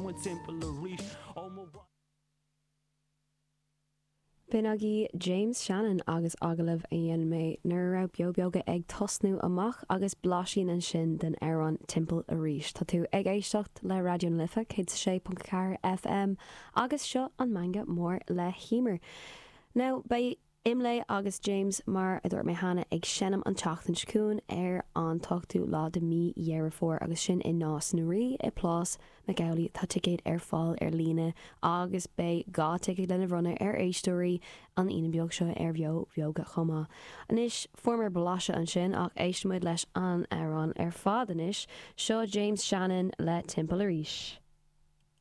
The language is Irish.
chugainn timpeall arís Ó mo. B'in agaibh James Shannon agus agallamh a dhein mé nuair a raibh Beo Beoga ag tosnú amach agus blaisín ansin den amhrán Timpeall Arís. Tá tú ag éisteacht le Raidió na Life 106.4 FM agus seo an Meangadh Mór le hEmer. Now beidh Imlé agus James, mar a dúirt mé cheana, ag seinm an tseachtain seo chugainn ar an t-ochtú lá de mí Dheireadh Fómhair agus sin i Nás na Rí i Plás McAuley. Tá ticéid ar fáil ar líne agus beidh 2 ticéad lena bhronnadh ar éisteoirí an Aoine beag seo ar Bheo Bheoga chomh maith. Anois, fuaireamar blaiseadh ansin ach éistfidh muid leis an amhrán ar fad anois. Seo James Shannon le Timpeall Arís.